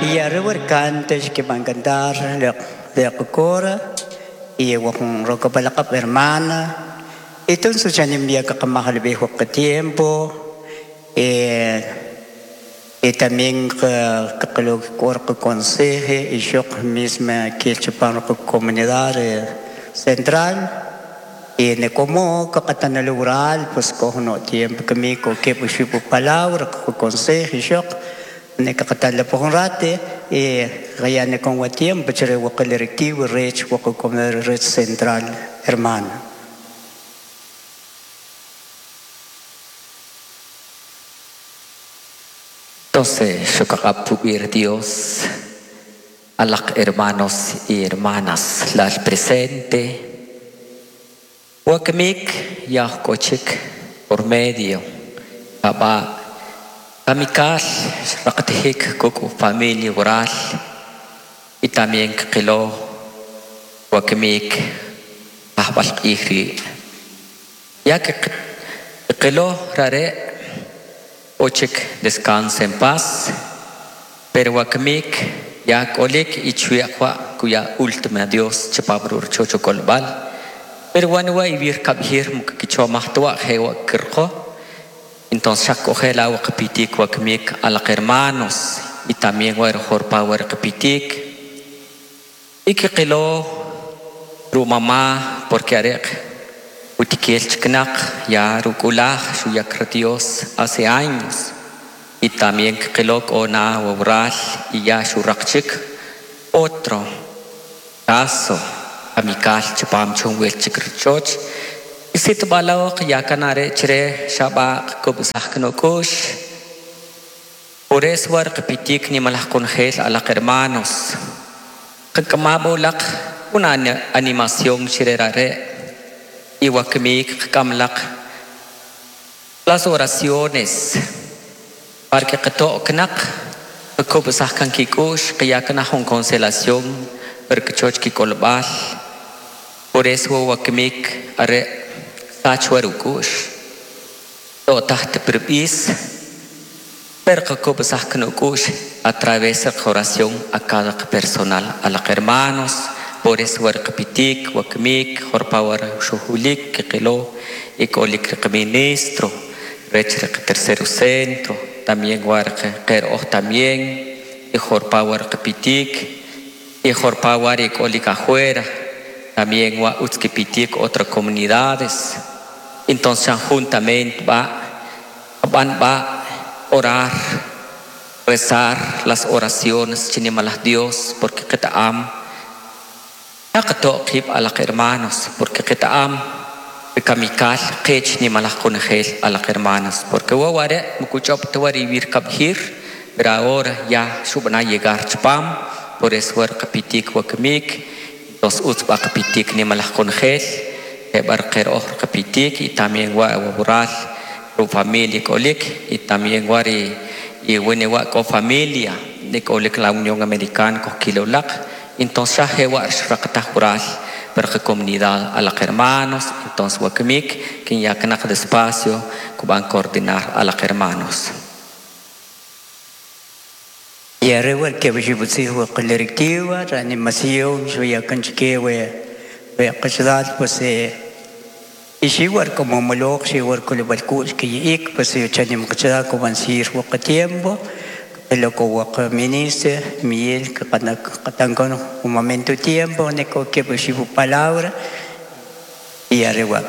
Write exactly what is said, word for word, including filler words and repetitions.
Y arriba el cante que van a cantar de cora y con roca para la hermana. Entonces ya envía que el viejo que tiempo eh, y también que lo que conseje y yo misma que el chupano comunidad central y ne como que tan rural pues cojo no tiempo que me que pues palabra que conseje y yo ne que tan la por rate y ya ne con tiempo chere el directivo rech comunidad red central hermana. Entonces, Shokakapubir Dios, a los hermanos y hermanas, las presente, Wakmik Yahkochik por medio, Baba, Kamikal, Raktihik, Kuku, familia oral, y también Kilo, Wakmik, Ahbal Ihri, ya que Kilo Rare. Ochik descansa en paz, pero wakmik ya kolik y chuya cuya última Dios chapabrur chocho colbal, pero wanwa y vir kabhir mukicho mahtua jewa kirko, entonces ya el agua kapitik wakmik a los hermanos y también war jorpa war kapitik y que qilo ru mamá porque arek Utikel chiknak ya rukulaj shuyakra Dios hace años y también kelok ona obral y ya shurakchik otro caso amical chapam chungwel chikrchoch y sit balok ya kanare chre shabak kubsaknokush por eso war pitik ni malaj congel a los hermanos kamabulak una animación chirerare y wakmik kamlak las oraciones para que qatoknak kubsahkan kikush qiyakna hun consolación porque choch kikolbal por eso wakmik are sachwarukush to taht perbis pero kubsahkan ukush a través de oración a cada personal a los hermanos. Por eso warkapitik, wakmik, jorpawar shuhulik, kilo, y kolik ministro, rech tercero centro, también warke ker también, y jorpawar kapitik, y jorpawar y kolik afuera, también wa utskipitik otras comunidades. Entonces juntamente va, van va orar, rezar las oraciones, chinimalas Dios, porque ketaam. Taqib a los hermanos, porque ketaam kamikal qech ni malaj conjel a los hermanos, porque waware mukuchop tuarivir kabhir, pero ahora ya suban a llegar chpam, por eso war kapitik wakmik, los utzba kapitik ni malaj conjel, barker ojr kapitik y también wa wabural, ru familia kolik y también wari y wene wa ko familia de kolik la Unión Americana kokilolak. Entonces, ya jural para la comunidad a los hermanos. Entonces, wakmik, quien ya que despacio, que van a coordinar a los hermanos. Y arriba que voy a directiva, reanimación, yo ya canchique, voy a pues y si igual como moloch, si igual con el balcón que ik, pues yo chanim que como ansir tiempo. Lo que ministro Miguel que cuando un momento tiempo ne que pues palabra y arriba.